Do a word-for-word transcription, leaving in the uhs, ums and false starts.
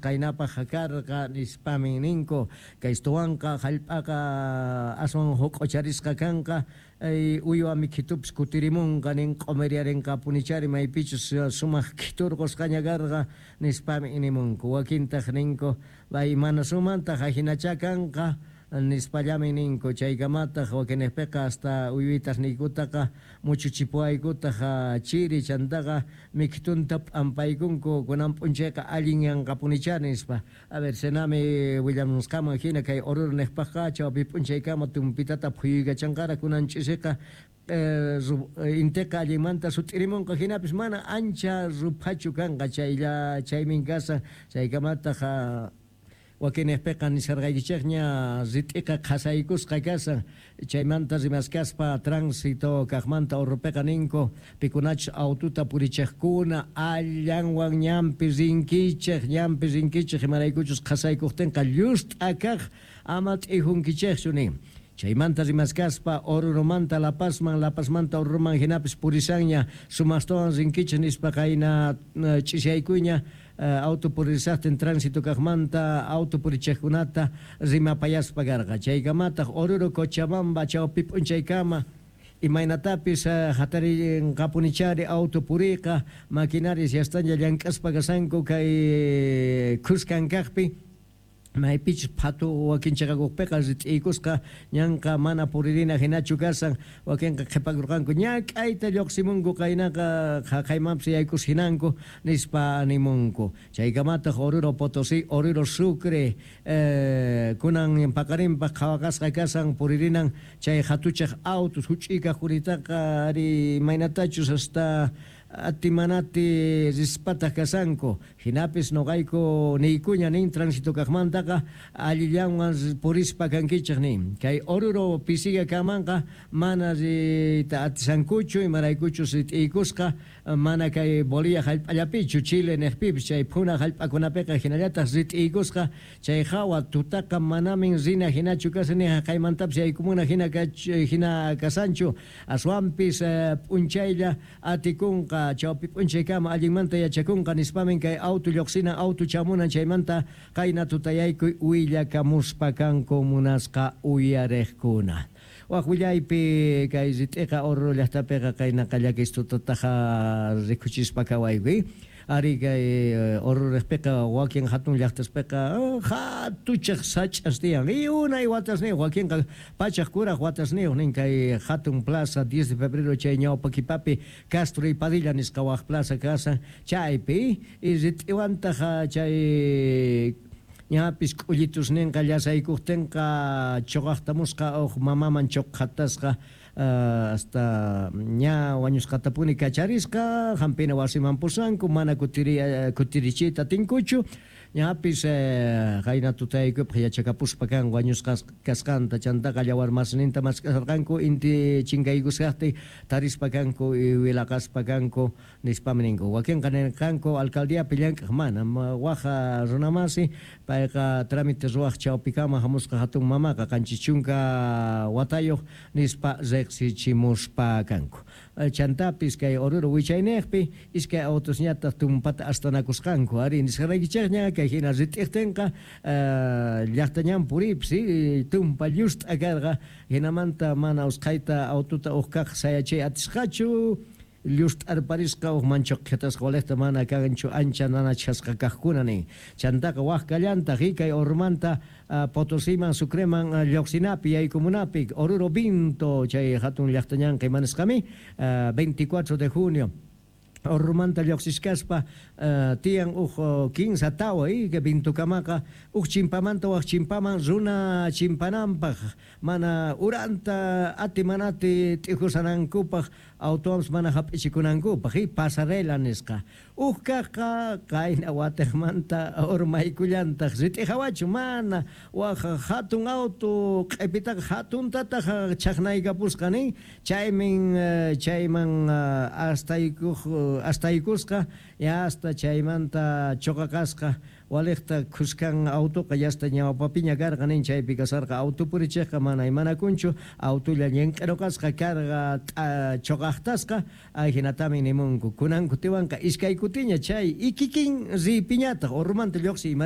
Qaynapaj karqa nispamin ninku. Kaystuwanqa jallp'aqa aswan joq'ocharisqa kanqa, uywa mikhitupis kutirimunqa nin, q'umiriyarinqapunichari maypichus sumaq khiturqusqaña karqa nispami nimunku. Wakintaq ninku bay mana sumantaq ajinacha kanqa nispallamin ninku. Chaykamataq wakinejpiqa hasta uywitasniykutaqa muchuchipuwaykutaq chiri, chantaqa mikhitunta p'ampaykunku kunan p'unchayqa allin yanqapunicha nispa. A ver, Senami willamusqaman hina kay Oruro nejpaqqa chawpi p'unchaykama tumpitata phuyuykachanqara kunan ch'isiqa inteqa allinmanta sut'irimunqa, hinapis mana ancha ruphachu kanqa chaylla chaymin kasa. Chaykamataq wakinejpiqa nisharqaykichikña rit'iqa qhasaykusqa kasan. Chaymanta rimaskaspa tránsito kaqmanta Orropiqa ninku pikunachus aututa purichiqkuna allanwan ñanpi rinkichik, ñanpi rinkichik, imaraykuchus qhasaykuqtinqa llust'a kaq ama t'ijunkichikchu nin. Chaymanta rimaskaspa Oruromanta La Pazman, La Pazmanta Oruroman hinapis purisanña sumaqtawan rinkichik nispa qayna ch'isyaykuyña auto purisaqtin tránsito kaqmanta auto purichiqkunata rimapayaspa karqa. Chaykamataq Oruro Cochabamba chawpi p'unchaykama imaynatapis hatarinqapunichari auto puriqa, maquinarias yastaña llank'aspa kasanku kay khuskan kaqpi maypichus phatu wakinchaqakuqpiqa rit'iykusqa ñanqa mana puririna hinachu kasan. Wakinqa qhipakurqanku ñak'ayta lluqsimunku qaynaqa qhaqaymanpis yaykus hinanku nispa nimunku. Chaykamataq Oruro Potosí, Oruro Sucre kunan paqarinpaq qhawaqasqa kasan puririnan chay hatuchaq autos huch'uy kaqkunitaqa ari imaynatachus hasta atimanati rispataq kasanku. Hinapis noqayku niykuña nin tránsito kaqmantaqa allillanwan purispa kankichik nin. Kay Oruro pisiga kamanqa mana riyta atisankuchu imaraykuchus rit'iykusqa mana kay Bolivia jallp'allapichu Chile nejpipis chay phuna jallp'akunapiqa hinallataq rit'iykusqa. Chay hawa tutaqa manamin rina hinachu kasan ni haqaymantapis yaykumuna hina hina kasanchu, aswanpis p'unchaylla atikunqa chawpi p'unchaykama allinmanta yachakunqa nispamin kay auto lluqsinan auto chamunan chaymanta qayna tutayaykuy willakamuspa kanku munasqa uyariqkuna. Waq willaypi kay rit'iqa Oruro llaqtapiqa qaynaqa llakis tutataqa rikuchispa kawaykuy. Ari kay Orurejpiqa wakin hatun llaqtaspiqa hatuchaq sach'as tiyan y unay watasniyuq, wakinqa pachaq kuraq watasniyuq nin. Kay hatun plaza diez de febrero chay ñawpa kipapi Castro y Padilla nisqa waq plaza kasan chaypi y rit'iwantaq chay ñapis k'ullitus ninqa llasaykuqtinqa chuqaqtamusqa uq mamaman chuqhatasqa hasta ña wañusqatapuni kacharisqa hampina wasiman pusanku mana kutiri kutirichiyta atinkuchu. Ñapis qayna tutaykupaq yachakapuspa kan wañusqa kasqanta chantaqa llawarmasninta mask'asarqanku inti chinkaykusqaqtin tarispa kanku wilaqaspa kanku nispami ninku. Wakinqa nirqanku alcaldiapi llank'aq mana waqa runamasi payqa trámite ruwaq chawpikama hamusqa hatun mamaqa qanchis chunka watayuq nispa riqsichimuspa kanku. Chantapis kay Oruro wichaynejpi iskay autosñataq tumpata astanakusqanku ari nisqaraykichikña kay hina rit'iqtinqa llaqta ñan puripis tumpa llust'a karqa hinamanta mana usqhayta autota uq kaq sayachay atisqachu llust'arparisqa uq manchuqhitasqa waliqta mana kanchu ancha nanachasqa kaqkuna nin. Chantaqa waq kallantaq kay Oruromanta Potosiman Sucreman lluqsinapi yaykumunapi Oruro Vinto chay hatun llaqta ñanqa imanisqami veinticuatro de junio Oruromanta lluqsishkaspa tiyan uq kinsa tawa que Vintukamaqa uq chimpamanta waq chimpaman runa chimpananpaq mana uranta ati manati t'ijusanankupaq autoams mana hap'ichikunankupaq y pasarela nisqa. Uq kaqqa qayna watiqmanta urmaykullantaq rit'ihawachu mana waq hatun auto q'ipitaqa hatuntataq chaqnaykapusqa nin chaymin chayman astaykuq astaykusqa ya hasta chaymanta chuqaqasqa waliqta khuskan autoqa yasta ñawpapiña karqa nin chaypi kasarqa auto purichiqqa mana imanakunchu autolla ñink'iruqasqa karqa chuqaqtasqa ajinatami nimunku. Kunan kutiwanqa iskay kutiña chay ikikin ripiñataq Oruromanta lluqsi.